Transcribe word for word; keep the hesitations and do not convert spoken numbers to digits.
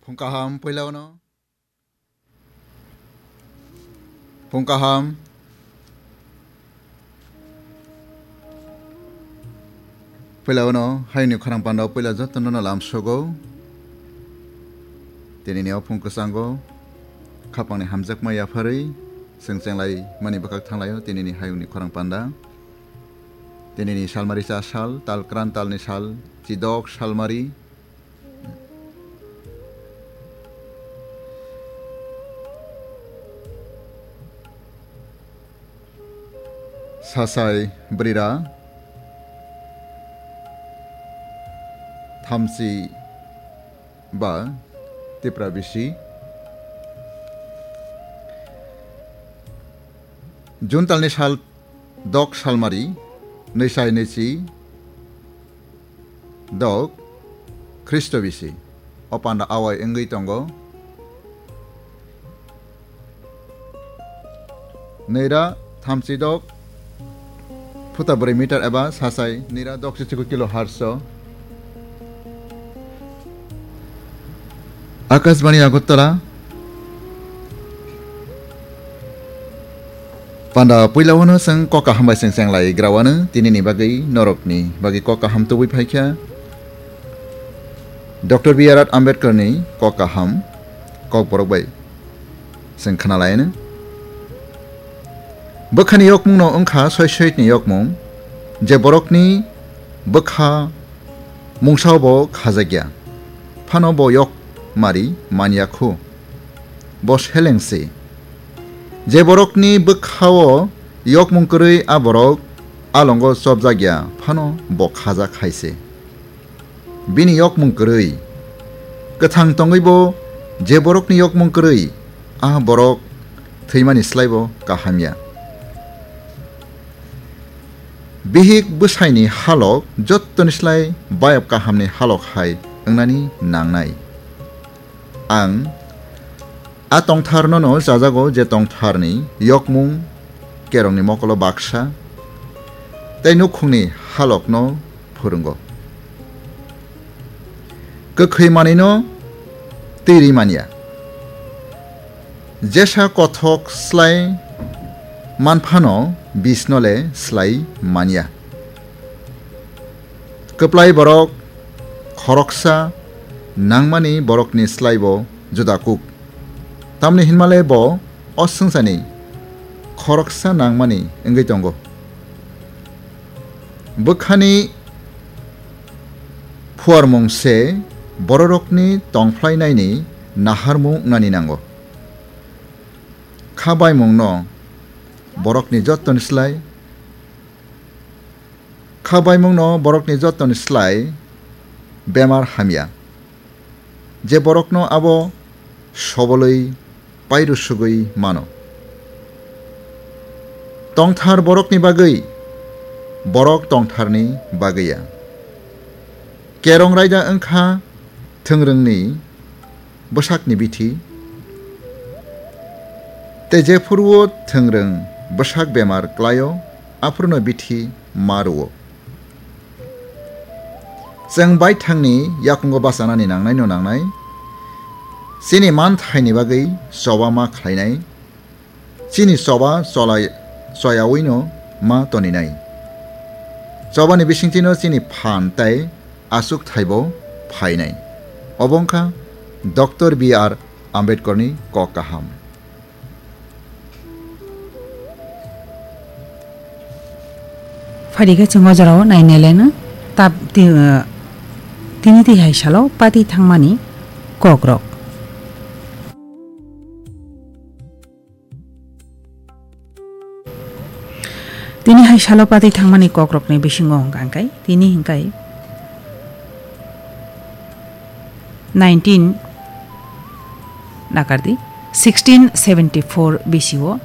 Phung kaham puila uno. Phung kaham. Puila uno hayungni khorang panda o puila jotono no lamsogo. Tinini o phung kwchango khapangni hamjakma yapharwi chwng chenglai mani bwkhak thanglaio tinini hayungni khorang panda. Tinini salmari cha sal, tal kran talni sal, chidok salmari. Sasai brira thamchi ba tipra bisi. Juntalni sal dok salmari, nwisai nwichi dok Khristo bisi. O panda awai wngwi tongo. Nira thamchi dok phuta bwrwi meter eba sasai nira dok chichiku kilo harso. Akashbani Agartala. Panda puila wano chwng kok kaham bai chwng chenglai grawano tinini bagwi norokni bagwi kok kaham tubui phaikha. Doctor B R Ambedkarni kok kaham kok borok bai chwng khna laino. Bwkhani yokmungno wngkha soi soitni yokmung, je borokni bwkha mungsao bo khajakya, phano bo yok mari manya khu. Bo seleng se. Je borokni bwkhao yokmung kwrwi a borok alongo chopjakya, phano bo khajak hai se. Bini yokmung kwrwi. Kwthang tongwi bo je borokni yokmung kwrwi, a borok thwimani slai bo kaham ya. Bihik bwsaini halok jottoni slai bayap kahamni halok hai wngnani nangnai. Ang a tongtharno no chajago je tongtharni yokmung kerongni mokolo baksa tei nukhungni halokno phwrwngo. Kwkhwi manwino twi rwi manya. Jesa kothok slai manphano bisno le slai manya. Kwplai borok khoroksa nangmani borokni slai bo juda kuk. Tamni hinmale bo o swngcharni khoroksa nangmani wngwi tongo. Bwkhani phuarmung se bororokni tongphlainaini naharmung wngnani nango. Kha baimungno borokni jottoni slai, kha baimungno borokni jottoni slai bemar hamya. Je borokno abo sobolwi pairusugwi mano. Tongthar borokni bagwi, borok tongtharni bagwi ya. Kerong raida wngkha thwngrwngni bwsakni bithi, tei jephuruo thwngrwng bwsak bemar klaio, aphuruno bithi ma rwo. Chwng baithangni yakungo bachanani nangnaino nangnai, chini manthaini bagwi choba ma khlainai, chini choba cholai-, choyawino ma toninai. Chobani bisingtwino chini phan tei achukthaibo phainai. Obo wngkha Doctor B R Ambedkarni kok kaham. Phaidi khe chwng o jorao nainai laino tab ti-, uh, tini twi hai salo pati thangmani kokrok. Tini hai salo pati thangmani kokrokni bisingo hwnkha hwnkhe tini hwnkhe nineteen nakardi, sixteen seventy-four B C o